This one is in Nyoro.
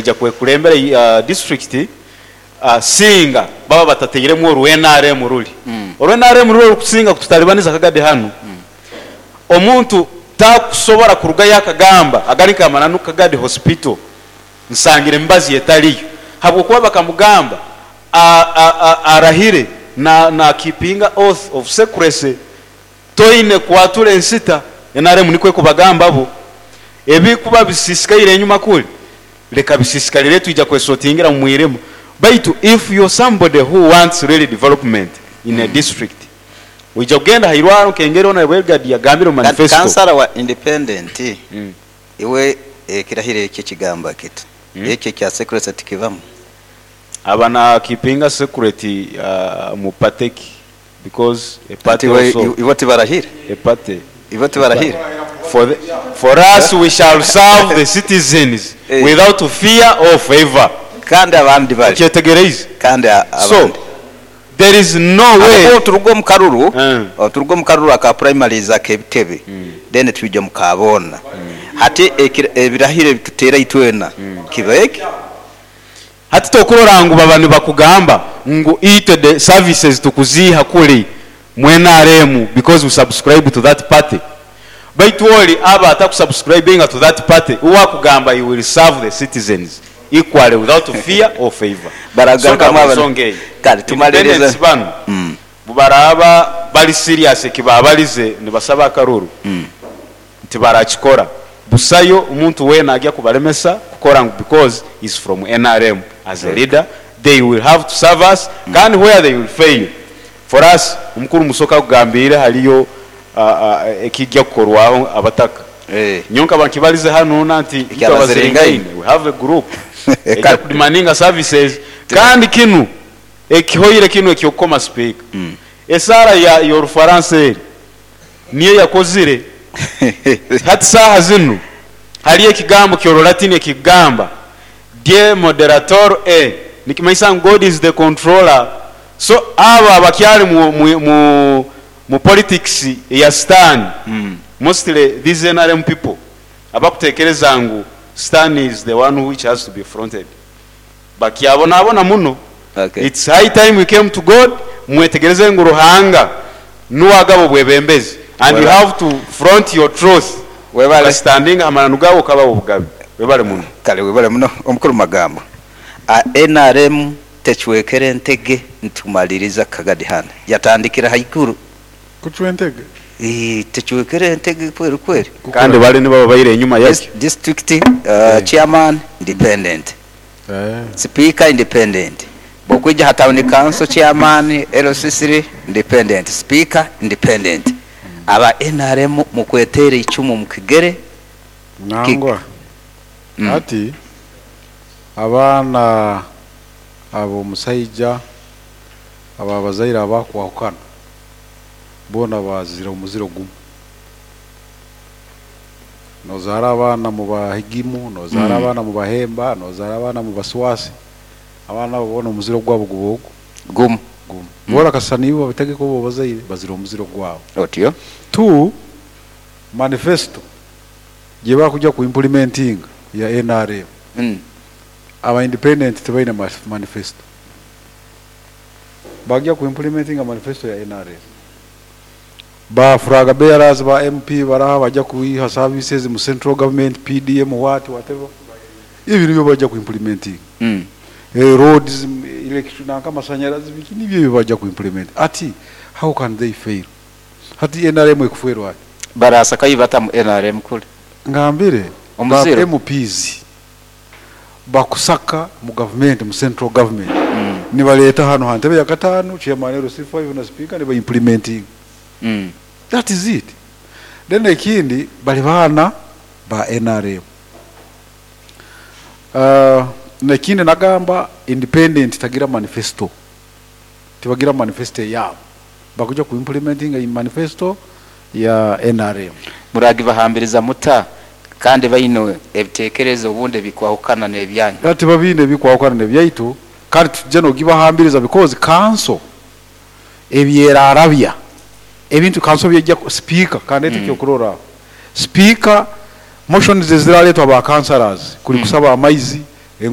Baija kwekulembera district singa baba batatairemu oru nrm ruli. Oru nrm ruli orukusinga kututalibaniza Kagadi hanu, omuntu takusobora kurugayo akagamba agali nk'amananu Kagadi Hospital nsangire emibazi etaliyo habwokuba bakamugamba arahire na keepinga oath of secrecy. Toine kwatura ensita, nrm nikwo ekubagamba bo. Ebikuba bisisikaire enyuma kuri, leka bisisikalire twija kwesotingira mu mwirima. Baitu if you're somebody who wants really development in a district, oija kugenda ha irwaro nk'engeri Honourable Elgard yagambire mu Kandi manifesto. kansara wa independent iwe ekirahiro ekyo kigamba kiti? Ekyo ekya secrecy tikibamu? Aba na keepinga secret mu party ki? Because a party also. Ibo tibarahire? A party. Ibo tibarahire? For the, for us we shall serve the citizens without fear or favour. Kandi abandi bari. Okyetegereize? Kandi So, abandi. there is no way. Ahabw'okuba obu turuga omu karuru, obu turuga omu karuru aka primaries ak'ebitebe, then twija omu ka boona. Hati ebirahiro ebi tuteera itwena kiba eki. Hati tokurora ngu baba nibakugamba ngu itwe the services tukuziiha kuri mu nrm because we subscribe to that party. Baitu ori aba atakusubscribinga to that party uwe akugamba he will serve the citizens equally without fear or favour. So Baragarukamu nabwo abana. ensonga eyo Kale tumalirize. independents banu bubaraaba bari serious ekibabarize nibasaba akaruru Tibarakikora. Busayo omuntu weena agya kubalemesa kukora ngu because is from nrm as a leader they will have to serve us kandi where they will fail for us omukuru Musoke akugambiire haliyo ekigya kukorwaho abataka. Nyowe nkaba nkibalize hanu na nti itwe Abaziringaine we have a group egya kudemandinga services kandi kinu ekihoire kinu ekyokukoma sipiika esaara yorufaransa eri Niyo yakozire. Hati saaha zinu haliyo ekigambo ky'Orulatini ekikugamba, Die moderator e, nikimanyisa ngu God is the controller. So abo abakyali mu, mu, mu, mu politics eya sitaani, mostly these nrm people abakutekereza ngu sitaani is the one which has to be fronted, Bakyabonabona muno. Okay. It's high time we came to God, mwetegereze ngu Ruhanga nuwe agaba obwebembezi and you Webale. have to front your truth Webale. okastandinga ha mananu gawe okaba wobugabe. Webale muno. Kale webale muno omukuru Magambo. A nrm tecwekere entege nitumaliriza Kagadi hanu. Yatandikira haiguru. Kucwa entege? Eeh tecwekere entege kweri kweri. Kandi bali nibaba baire enyuma yakyo. District chairman independent, Sipiika independent, bwokwija ha town council chairman, LC3 independent, sipiika independent. Aba nrm mukweteera eicumu omu kigere. Nangwa hati abaana ab'omusaija ab'abazaire abakwahukana boona bazira omuziro gumu. Nozaara abaana mu Bahigimu, nozaara abaana mu Bahemba, nozaara abaana mu Baswasi, abaana abo boona omuziro gwabo guba ogu? Gumu. Gumu. Boona kasita niiwe obategeka obu obazaire, bazira omuziro gwabo. Otyo. Two, manifesto gyebakuja ku implementinga ya nrm, aba independent tibaine manifesto. Bagya ku implementinga manifesto ya nrm. Ba flag bearers ba MP baraha baja kwiha services mu central government, PDM what whatever, ebyo nibyo baja ku implementinga. Roads, electric nanka amasanyarazi biki nibyo ebyo baja ku implement. Ati how can they fail? Hati nrm ekufwerwa ki? Barasa kayi bata mu nrm kule. Ngambire ba Omuziro. MPs bakusaka mu government, mu central government nibaleta hanu ha ntebe ya katano, chairman LC5 na speaker niba implementinga. That is it. Then ekindi bali baana ba nrm. Nekindi nagamba independent tagira manifesto, tibagira manifesto eyabo, bakuja ku implementinga manifesto ya nrm. Muragibahambiriza muta kandi baine ebitekerezo obundi ebikwahukana n'ebyanyu? Hati babiine ebikwahukana n'ebyaitu kandi titujja n'ogibahambiriza because kanso ebyerarabya ebintu kanso byejja sipiika kandi eki ekyokurorraho sipiika motions eziraletwa ba councillors kuli kusaba amaizi.